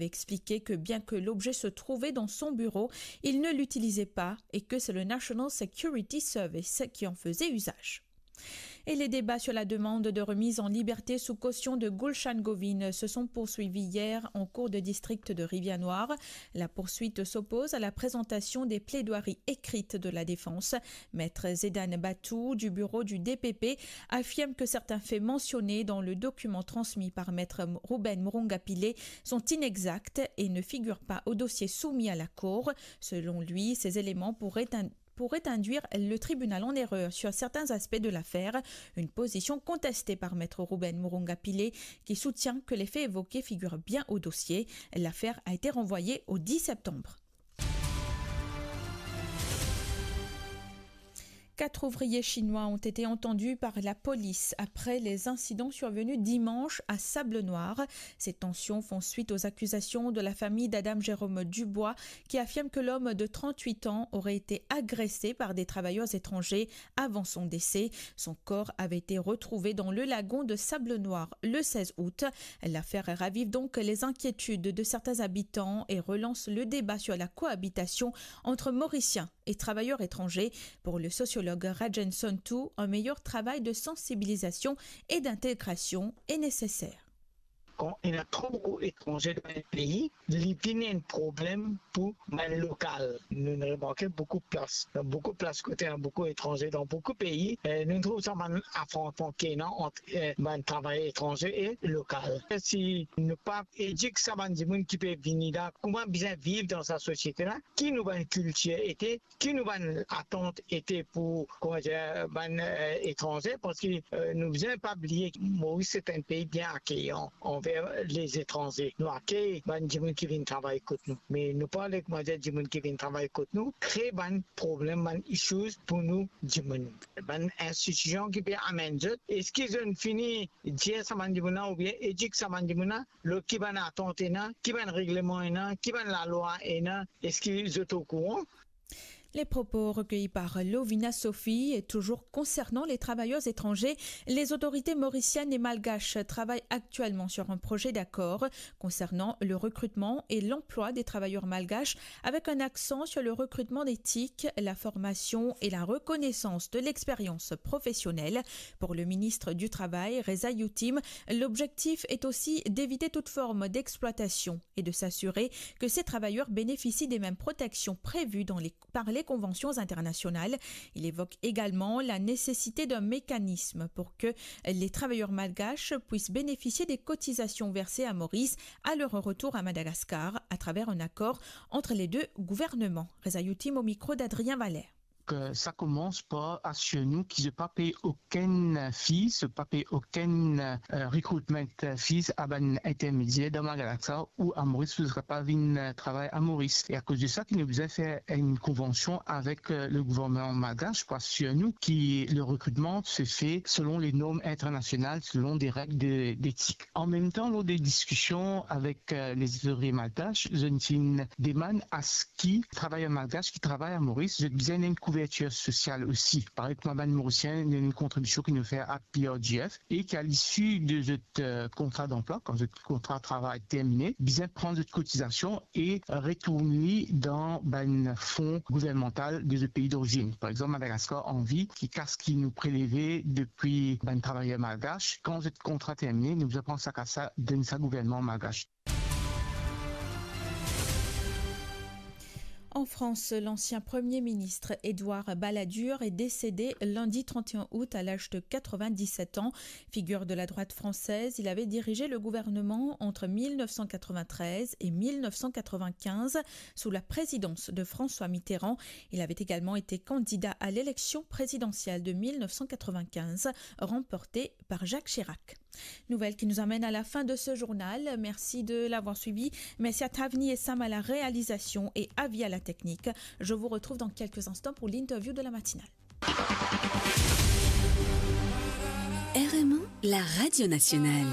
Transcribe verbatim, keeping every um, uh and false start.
expliquer que bien que l'objet se trouvait dans son bureau, il ne l'utilisait pas et que c'est le National Security Service qui en faisait usage. Et les débats sur la demande de remise en liberté sous caution de Gulshan Govind se sont poursuivis hier en cour de district de Rivière-Noire. La poursuite s'oppose à la présentation des plaidoiries écrites de la défense. Maître Zedan Batou du bureau du D P P affirme que certains faits mentionnés dans le document transmis par Maître Ruben Moronga Pillay sont inexacts et ne figurent pas au dossier soumis à la Cour. Selon lui, ces éléments pourraient in-, pourrait induire le tribunal en erreur sur certains aspects de l'affaire, une position contestée par Maître Ruben Moronga Pillay, qui soutient que les faits évoqués figurent bien au dossier. L'affaire a été renvoyée au dix septembre. Quatre ouvriers chinois ont été entendus par la police après les incidents survenus dimanche à Sable-Noir. Ces tensions font suite aux accusations de la famille d'Adam Jérôme Dubois, qui affirme que l'homme de trente-huit ans aurait été agressé par des travailleurs étrangers avant son décès. Son corps avait été retrouvé dans le lagon de Sable-Noir le seize août. L'affaire ravive donc les inquiétudes de certains habitants et relance le débat sur la cohabitation entre Mauriciens et travailleurs étrangers. Pour le sociologue Rajen Sontu, un meilleur travail de sensibilisation et d'intégration est nécessaire. Kan ena tro boukou etranze dan enn pei, li vinn enn problem pou bann lokal. Nou'nn remarke boukou plas, dan boukou plas kot ena boukou etranze dan boukou pei, eh, nou'nn trouv sa bann afrontman ki ena ant, eh, bann travayer etranze e lokal. Si nou pa edik sa bann dimoun ki pe vini la, kouma bizin viv dan sa sosiete la, ki nou bann kiltir ete, ki nou bann atant ete pou, kouma dir, bann, eh, etranze, parski, eh, nou bizin pa bliye Moris se enn pei bien akeyan anver lezatranze. Nou akey bann dimoun ki vinn travay kot nou. Me nou pa le, kouma dir, dimoun ki vinn travay kot nou kre bann problem, bann issues pou nou dimoun. Bann institision ki pe amenn zot, eski zot fini dir sa bann dimoun la oubien edik sa bann dimoun la lor ki bann atant ena, ki bann regleman ena, ki bann lalwa ena, eski zot okouran? Les propos recueillis par Lovina Sophie. Et toujours concernant les travailleurs étrangers, les autorités mauriciennes et malgaches travaillent actuellement sur un projet d'accord concernant le recrutement et l'emploi des travailleurs malgaches, avec un accent sur le recrutement éthique, la formation et la reconnaissance de l'expérience professionnelle. Pour le ministre du Travail, Reza Youtim, l'objectif est aussi d'éviter toute forme d'exploitation et de s'assurer que ces travailleurs bénéficient des mêmes protections prévues dans les, par les conventions internationales. Il évoque également la nécessité d'un mécanisme pour que les travailleurs malgaches puissent bénéficier des cotisations versées à Maurice à leur retour à Madagascar à travers un accord entre les deux gouvernements. Reza Youtim au micro d'Adrien Valère. Ke sa koumans par asir nou ki zot pa pey okenn fees, zot pa pey okenn, eh, recruitment fees a bann intermedier dan Madagascar ou a Moris pou zot kapav vinn, eh, travay a Moris. E akoz de sa ki nou bizin fer enn konvansion avek, eh, le gouvernman malgash pou asir nou ki le recrutement se fait selon les normes internationales, selon des règles de, d'éthique. An mem tan, lor de diskision avek, eh, les ouvriers malgaches, zot inn demann a ki travayer malgash ki travay a Moris, zot bizin ena enn kouvertir sosial osi. Parey kouma bann Morisien, ena enn kontribision ki nou fer a P R G F e ki a lisi de zot, eh, kontra danplwa, kan zot kontra travay termine, bizin pran zot kotizasion e retourn li dan bann fon gouvernmantal de zot pei dorizinn. Par exanp, Madagascar anvi ki kas ki nou preleve depi bann travayer malgash, kan zot kontra termine, nou bizin pran sa kas la, donn sa gouvernman malgash. En France, l'ancien Premier ministre Édouard Balladur est décédé lundi trente et un août à l'âge de quatre-vingt-dix-sept ans. Figure de la droite française, il avait dirigé le gouvernement entre mille neuf cent quatre-vingt-treize et mille neuf cent quatre-vingt-quinze sous la présidence de François Mitterrand. Il avait également été candidat à l'élection présidentielle de mille neuf cent quatre-vingt-quinze, remportée par Jacques Chirac. Nouvelle qui nous amène à la fin de ce journal. Merci de l'avoir suivi. Merci à Tavni et Sam à la réalisation et Avi à la technique. Je vous retrouve dans quelques instants pour l'interview de la matinale. R M O, la radio nationale.